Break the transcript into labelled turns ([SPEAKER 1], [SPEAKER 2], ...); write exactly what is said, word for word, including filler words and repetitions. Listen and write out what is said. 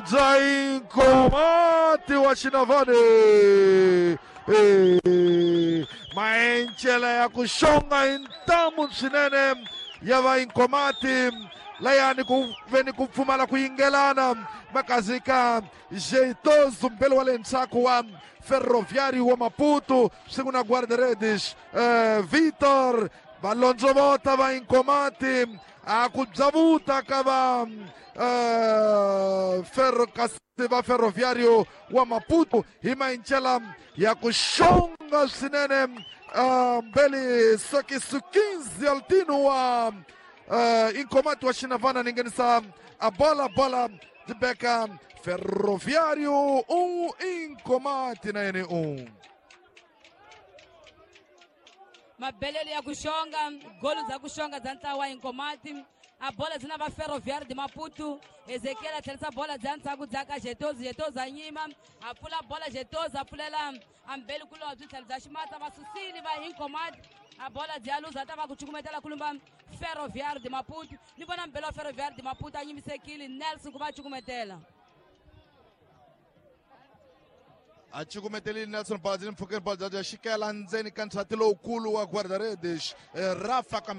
[SPEAKER 1] Bya Inkomati wa Xinavane. Eh, maencela ya ku xonga hi ntamu swinene ya va Inkomati layani ku veni ku pfumala ku yingelana makazika Jeitoso mbele wa le ndzhaku wa Ferroviário wa Maputo swin'we na guarda-redes eh, Vitor valondzovota va Inkomati a ku byavuta ka va eh, Ferro kasi va Ferroviário wa Maputo hi maincela ya ku xonga swinene uh, mbeli sokisu quinze altino wa uh, Inkomati wa Xinavana ni nghenisa a bola bola beka Ferroviário um Inkomati na yene um.
[SPEAKER 2] Mabelelo ya ku xonga golo za ku xonga bya ntlawa wa Inkomati a bola byi na va Ferroviário de Maputo. Ezekiel a tlherisa bola bya ndzhaku bya ka Jetozi, Jetozi a nyima a pfula bola, Jetozi a pfulela ambeli kulobye tlhelo bya ximatsa va susile va Inkomati a bola byi ya luza ta va ku cukumetela kulumba Ferroviário de Maputo. Ni vona mbeli wa Ferroviário de Maputo a nyimisekile Nelson ku va cukumetela.
[SPEAKER 1] A cukumetelile Nelson bola byi le mpfhukeni bola bya xikela ndzeni ka ndzhati lowukulu wa guarda-redes Rafa.